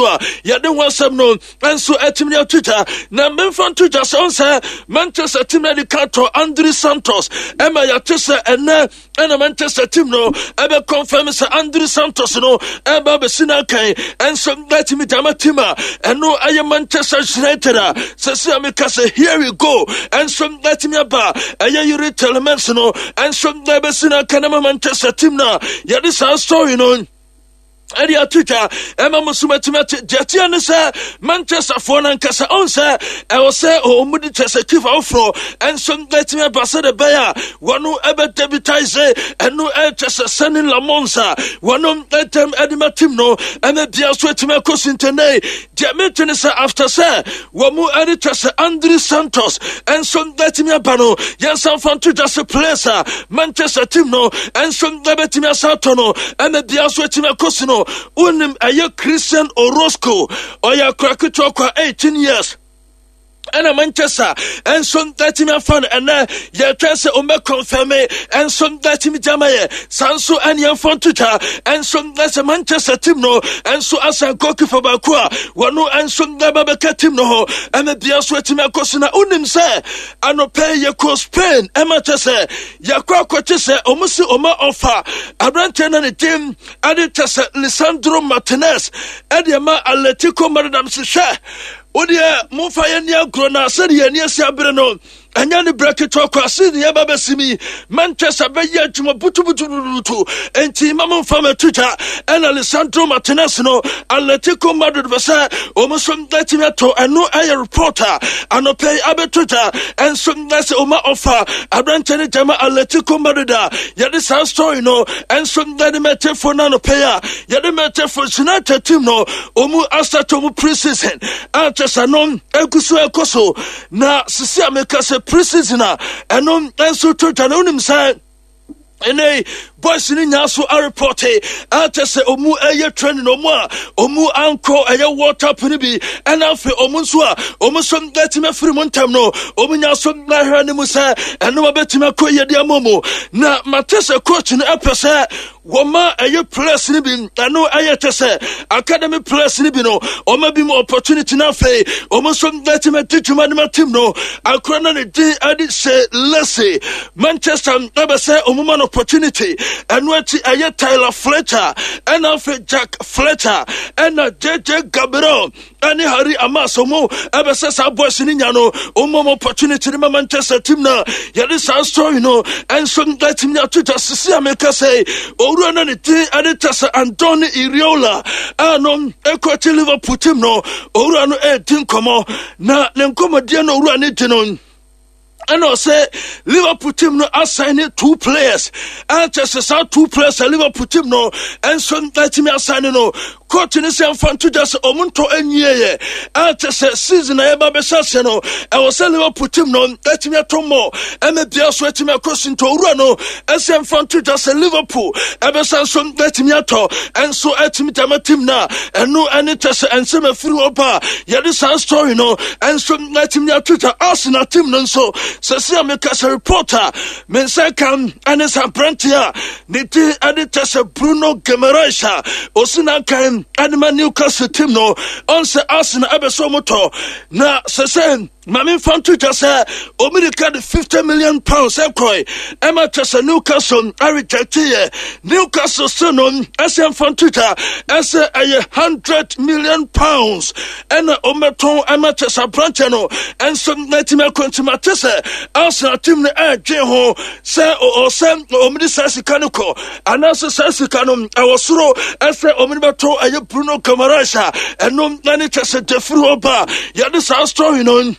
A yɛde ho asɛm no nso atumi ato dwa na memfa nto dwa sɛ ɔnsɛ Manchester team no de ka tɔ Andre Santos ɛma yɛate sɛ ɛnɛ ɛna Manchester team no ɛbɛ confirm sɛ Andre Santos no ɛba bɛsi no akan ɛnso atumi dama team a ɛno ɛyɛ Manchester United a sɛsi a meka sɛ here we go ɛnso atumi aba ɛyɛ Yuri Tielemans no ɛnso ɛbɛsi no akan ama Manchester team no a yɛde saa story no ɛde ato dwa ɛma mo so matumi ate deɛ teɛ ne sɛ Manchesterfoɔ no ankasa ɔn sɛ ɛwɔ sɛ ɔmu de kyɛ sɛ chief afoforɔ ɛnso atumi aba sɛ de bɛyɛ a wɔno ɛbɛdebitise ɛno ɛkyɛ sɛ sɛne Lamons a wɔno ɛtɛm ɛde ma team no ɛna bia so atumi akɔ sintɛnɛ. Deɛ mete ne sɛ after sɛ wɔn mu ɛde kyɛ sɛ Andre Santos nso bɛtumi aba no, yɛnsan fa nto dwa sɛ players a Manchester team no nso bɛtumi asan atɔ no ɛna bia nso atumi akɔ si no. Wonim ɛyɛ Christian Orozco, ɔyɛ akora ketewa kwa 18 years ɛna Manchester nso atumi afa no. Ɛnɛ yɛtwɛn sɛ ɔmbɛ kɔnfɛme nso atumi gyama yɛ saa nso ɛne yɛmfa nto dwa nso sɛ Manchester team no nso asan goalkeeper baako a wɔno nso ɛba bɛka team no ho ɛma bia nso atumi akɔ so. Na wonim sɛ anɔpɛ yɛkɔ Spain ɛma kyɛ sɛ yɛkɔ akɔkye sɛ ɔmo si ɔma ɔfa aberanteɛ no ne din ɛde kyɛ sɛ Lisandro Martinez ɛde ɛma Atletico Madrid am sɛ hwɛ wodeɛ momfa yɛn ni agorɔ na sɛdeɛ yɛn ani asi abere no ɛnyɛ ne berɛ ketewa kɔ ase ne yɛba bɛsi mi Manchester bɛyɛ adwuma butubutubutu enti ma momfa matu gya ɛna Lisandro Martinez no Atletico Madrid bɛ sɛ wɔn nso atumi ato ɛno ɛyɛ report a anɔpɛ yi abɛto gya ɛnso ɛsɛ ɔma ɔfa aberanteɛ no gyama Atletico Madrid a yɛde saa story no ɛnso ɛde mɛtefo no anɔpɛ yi a yɛde mɛtefo United team no ɔmu asate ɔmu pre-season a kyɛ sɛ no ɛgu so ɛkɔ so na sisi a meka sɛ pre-season a ɛno nso to dwa no wonim sɛ ɛnɛ boys no nyaa so arepɔte akyɛ sɛ ɔmu ɛyɛ training ɔmu a ɔmu ankɔ ɛyɛ World Cup no bi ɛna afei ɔmu nso a ɔmu nso bɛtumi afiri mu ntɛm no ɔmu nya so ahwɛ no mu sɛ ɛno bɛtumi akɔ yɛde ama mu. Na mate sɛ coach no ɛpɛ sɛ wɔma ɛyɛ players no bi ɛno ɛyɛ kyɛ sɛ academy players no bi no ɔma bi mu opportunity no afei ɔmo nso bɛtumi adi dwuma no ma team no akora no ne din ɛde sɛ Lese Manchester ɛbɛ sɛ ɔmo ma no opportunity. Ɛno akyi ɛyɛ Tyler Fletcher ɛna afei Jack Fletcher ɛna JJ Gabriel ɛne Harry Amas ɔmo ɛbɛsɛ saa boys no nya no ɔmo ɔmo opportunity no ma Manchester team na yɛde saa story no ɛnso ɛtumi ato gya. Sisi a meka sɛ owura no ne din ɛde kyɛ sɛ Andoni Iraola a no ɛkɔkye Liverpool team no, owura no ɛredi nkɔmmɔ na ne nkɔmmɔdeɛ no owura no di no ɛna ɔsɛ Liverpool team no asign ne two players ɛnkyɛ sɛ saa two players a Liverpool team no ɛnso ɛtumi asign no coach ne sɛ mfa nto dwa sɛ ɔmo ntɔ anwieɛ ɛnkyɛ sɛ season a yɛba bɛhyɛ aseɛ no ɛwɔ sɛ Liverpool team no ɛtumi atɔ mmɔ ɛma bia so ɛtumi akɔ si nti owura no ɛsɛ mfa nto dwa sɛ Liverpool ɛbɛsa nso ɛtumi atɔ ɛnso ɛtumi dama team no a ɛno ɛne kyɛ sɛ ɛnsɛm afiri hɔ ba a yɛde saa story no ɛnso ɛtumi ato dwa. Arsenal team no nso sɛsi a meka sɛ report a me nsa ka ɛne sɛ aberante a ne din ɛde kyɛ sɛ Bruno Guimaraes a ɔsi n'akan ɛde ma Newcastle team no ɔnsɛ Arsenal ɛbɛsɛ ɔmo tɔ na sɛ sɛ maame nfa nto dwa sɛ omirika de £50 million ɛkɔe ɛma kyɛ sɛ Newcastle arejecte yɛ Newcastle se no ɛsɛ nfa nto dwa ɛsɛ ɛyɛ £100 million ɛna ɔmɛtɔn ɛma kyɛ sɛ aberanteɛ no ɛnso n'atumi akɔ. Nti mate sɛ Arsenal team no ɛredwen ho sɛ ɔsɛ ɔmde saa sika no kɔ anaasɛ saa sika no ɛwɔ soro ɛsɛ ɔmde bɛtɔ ɛyɛ Bruno Guimaraes a ɛno ɛne kyɛ sɛ defiri hɔ ba yɛde saa story no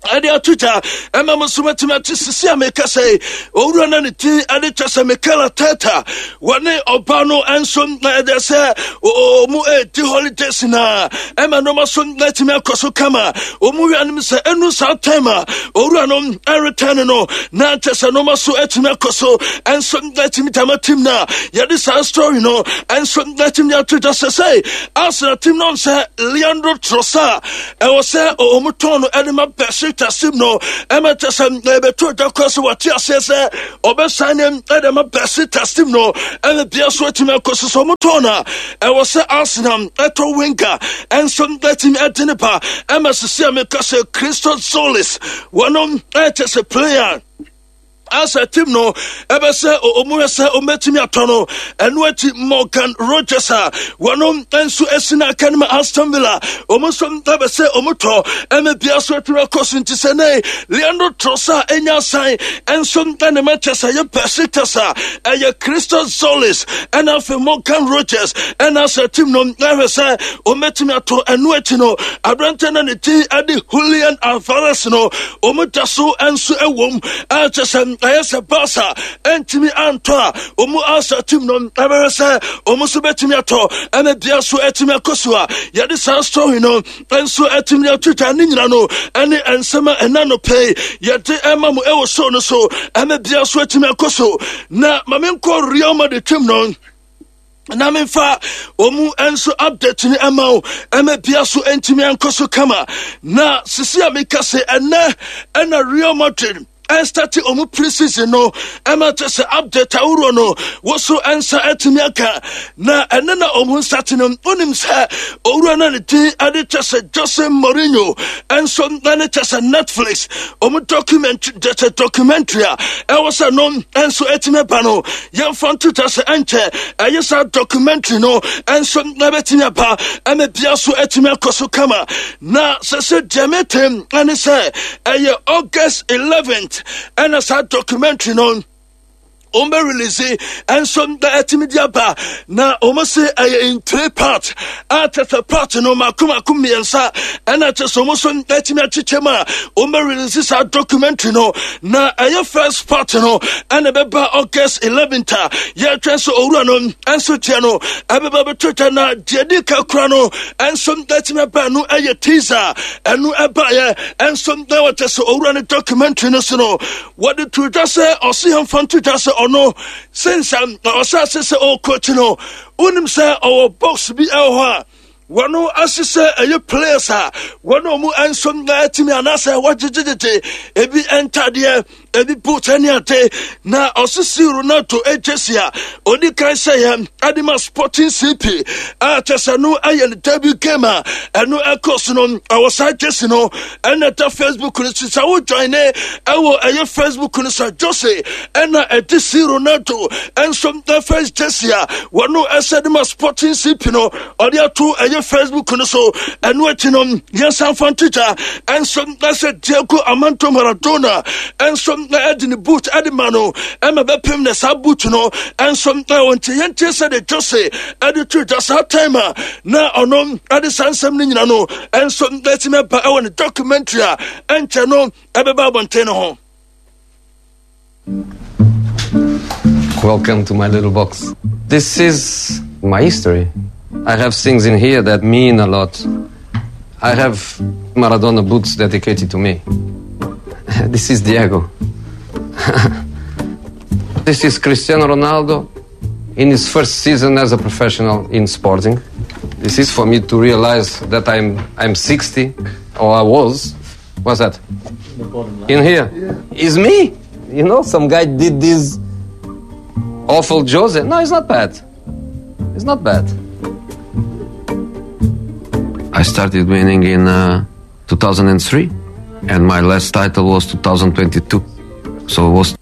ɛde ato gya ɛma mo nso matumi ate. Sisi a meka sɛ owura no ne din ɛde kyɛ sɛ Mikel Arteta wɔne ɔba no nso ɛde sɛ ɔmu ɛdi holidays na ɛma nneɛma so atumi akɔ so kama. Ɔmu wia no sɛ ɛnu saa time a owura no ɛretɛn no na kyɛ sɛ nneɛma so atumi akɔ so ɛnso atumi dama team no a yɛde saa story no ɛnso atumi ato gya sɛ Arsenal team no sɛ Leandro Trossard ɛwɔ sɛ ɔmu tɔn no ɛde ma. Besiktas team no ɛma kyɛ sɛ ɛbɛto dwa kora sɛ wɔte aseɛ sɛ ɔbɛsan ne ɛde ma Besiktas team no ɛna bia so atumi akɔ so sɛ ɔmotɔn no a ɛwɔ sɛ Arsenal ɛtɔ Wenger ɛnso atumi ɛde ne ba ɛma sisi a meka sɛ Christos Tzolis wɔnom ɛkyɛ sɛ player asɛ team no ɛbɛ sɛ ɔmu hwɛ sɛ ɔmɛtumi atɔ no. Ɛno akyi Morgan Rogers a wɔnom nso asi no aka no ma Aston Villa, ɔmu nso ɛbɛ sɛ ɔmu tɔ ɛmɛ bia so atumi akɔ so. Nti sɛ ne Leandro Trossard ɛnya asan ɛnso ɛne Manchester yɛ Besiktas a ɛyɛ Christos Tzolis ɛna afei Morgan Rogers ɛna asɛ team no ɛhwɛ sɛ ɔmɛtumi atɔ. Ɛno akyi no aberantɛ no ne din ɛde Julian Alvarez no, ɔmu da so nso ɛwom ɛkyɛ sɛ ɛyɛ sɛ Barca ɛntumi antɔ a, ɔmu asa team no ɛbɛhwɛ sɛ ɔmu nso bɛtumi atɔ ɛna bia so ɛtumi akɔ so a yɛde saa story no nso ɛtumi ato dwa. Ne nyina no ɛne nsɛm a ɛna no pɛi yɛde ɛma mo ɛwɔ show no so ɛna bia so ɛtumi akɔ so. Na ma menkɔ Real Madrid team no na memfa ɔmu nso update no ɛma wo ɛma bia so ɛntumi ankɔ so kama. Na sisi a meka sɛ ɛnɛ ɛna Real Madrid ɛnstarte ɔmu pre-season no ɛma kyɛ sɛ update ahoroɔ no wo so ɛnsa atumi aka. Na ɛne na ɔmu nsate no, wonim sɛ owura no ne din ɛde kyɛ sɛ Jose Mourinho ɛnso ɛne kyɛ sɛ Netflix ɔmu document kyɛ sɛ documentary a ɛwɔ sɛ no ɛnso atumi aba no, yɛmfa nto kyɛ sɛ ɛnkyɛ ɛyɛ saa documentary no ɛnso ɛbɛtumi aba ɛma bia so atumi akɔ so kama. Na sɛ deɛ metem ɛne sɛ ɛyɛ August 11th ɛna saa documentary no wɔn bɛ release ɛnso na ɛtumi di aba. Na wɔn se ɛyɛ in three part a kyɛ sɛ part no mako mako mmiɛnsa ɛna kyɛ sɛ wɔn nso ɛtumi akyekyɛ mu a wɔn bɛ release saa documentary no. Na ɛyɛ first part no ɛna ɛbɛba August 11th a yɛretwɛn sɛ owura no ɛnso deɛ no ɛbɛba bɛtɔ dwa. Na deɛ di ka kora no ɛnso ɛtumi aba no ɛyɛ teaser, ɛno ɛbaeɛ ɛnso na wɔkyɛ sɛ owura no documentary no so no wɔde to dwa sɛ ɔse yɛmfa nto dwa sɛ ɔno since ɔhyɛ ase sɛ ɔrekɔkyi no, wonim sɛ ɔwɔ box bi ɛwɔ hɔ a wɔno ahyehyɛ ɛyɛ players a wɔne ɔmo nso atumi anaasɛ wɔgyegyegyegye ebi ntadeɛ, ebi boot ne ade. Na ɔsisi Ronaldo agyesi a ɔdi kan hyɛ yɛ ɛde ma Sporting CP a kyɛ sɛ no ɛyɛ ne debut game a ɛno ɛkɔ so no, ɛwɔ saa gyesi no ɛna ɛda Facebook no so. Sɛ wo join ne ɛwɔ ɛyɛ Facebook no sɛ Jose ɛna ɛde si Ronaldo ɛnso the first jersey a wɔno ɛsɛ de ma Sporting CP no ɔde ato ɛyɛ Facebook no so. Ɛno akyi no yɛnsan fa nto gya ɛnso ɛsɛ Diego Armando Maradona ɛnso ɛde ne boot ɛde ma no ɛma bɛpem na saa boot no ɛnso ɛwɔ. Nti yɛntie sɛ de Jose ɛde to gya saa time a na ɔno ɛde saa nsɛm no nyina no ɛnso ɛtumi ɛba ɛwɔ ne documentary a ɛnkyɛ no ɛbɛba abɔnten no ho. Welcome to my little box. This is my history. I have things in here that mean a lot. I have Maradona boots dedicated to me. This is Diego. This is Cristiano Ronaldo in his first season as a professional in Sporting. This is for me to realize that I'm 60, or I was. What's that? In here. Yeah. Is me. You know, some guy did this awful Jose. No, it's not bad. It's not bad. I started winning in 2003, and my last title was 2022. So it was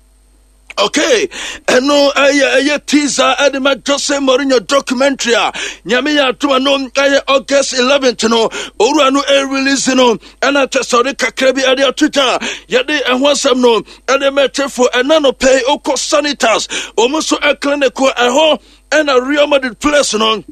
Okay, ɛno ɛyɛ teaser ɛde ma Jose Mourinho documentary a Nyame yɛ atoma no ɛyɛ August 11th no owura no ɛrelease no. Ɛna kyɛ sɛ ɔde kakra bi ɛde ato gya a yɛde ɛho asɛm no ɛde mɛtefo. Ɛna no pɛi okɔ Sanitas wɔn nso ɛclinic ɛhɔ ɛna Real Madrid players no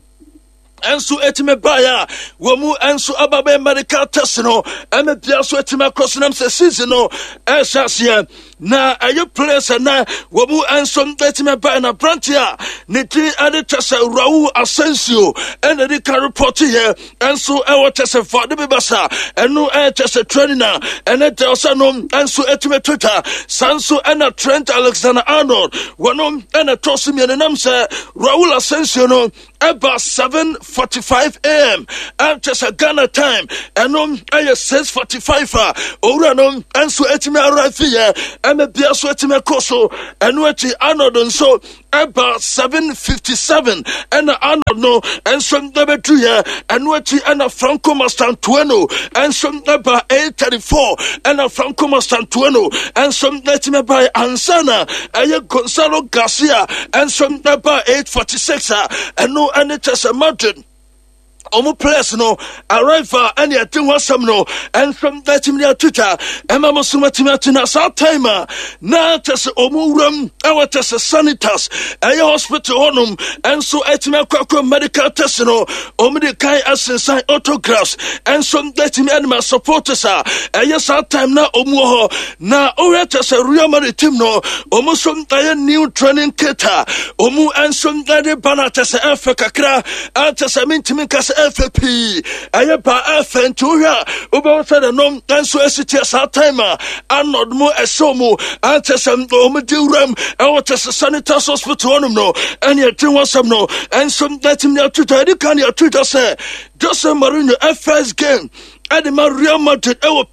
ɛnso ɛtumi baeɛ a wɔn mu ɛnso aba bɛyɛ medical test no ɛmɛ bia so ɛtumi akɔ so nam sɛ season no ɛhyɛ aseɛ. Na ɛyɛ players ɛnɛ wɔn mu nso atumi ɛbɛn na aberante a ne din ɛde kyɛ sɛ Raul Asensio ɛna ɛde ka report yɛ nso ɛwɔ kyɛ sɛ fa de bi bɛsa ɛno ɛyɛ kyɛ sɛ training a ɛne deɛ ɔsɛ no nso atumi to twa. Saa nso ɛna Trent Alexander Arnold wɔn ɛna ɛtɔ so mmienu nam sɛ Raul Asensio no ɛba 7:45 am ɛkyɛ sɛ Ghana time ɛno ɛyɛ 6:45 a owura no nso atumi arrive yɛ ɛma bia so atumi akɔ so. Ɛno akyi Arnold nso ɛba 7:57 ɛna Arnold no nso ɛbɛdu yɛ. Ɛno akyi ɛna Franco Mastantuono nso ɛba 8:34 ɛna Franco Mastantuono nso ɛtumi ɛba ansa na ɛyɛ Gonzalo Garcia nso ɛba 8:46 a ɛno ɛne kyɛ sɛ Madrid ɔmo players no arrival ɛne ɛde ho asɛm no ɛnso ɛtumi de atwitwa ɛma mo so matumi atena saa time a na kyɛ sɛ ɔmo wuram ɛwɔ kyɛ sɛ Sanitas ɛyɛ hospital hɔnom ɛnso ɛtumi akɔ akɔ medical test no. Ɔmo de kan asensan autographs ɛnso ɛtumi ɛnima supporters a ɛyɛ saa time na ɔmo wɔ hɔ. Na ɔyɛ kyɛ sɛ Real Madrid team no ɔmo nso ɛyɛ new training kit a ɔmo nso ɛde ba no kyɛ sɛ ɛfɛ kakra ɛkyɛ sɛ mentumi nka sɛ ɛfɛ pii, ɛyɛ ba ɛfɛ. Nti wohwɛ a wobɛhu sɛ ne nso asi teɛ saa time a Arnold mu ɛhyɛ mu ɛkyɛ sɛ ɔmo di wuram ɛwɔ kyɛ sɛ Sanitas hospital hɔnom no ɛne ɛte ho asɛm no ɛnso ɛtumi ato dwa. Ɛdi kan ne ato dwa sɛ Jose Mourinho first game ɛde ma Real Madrid ɛwɔ.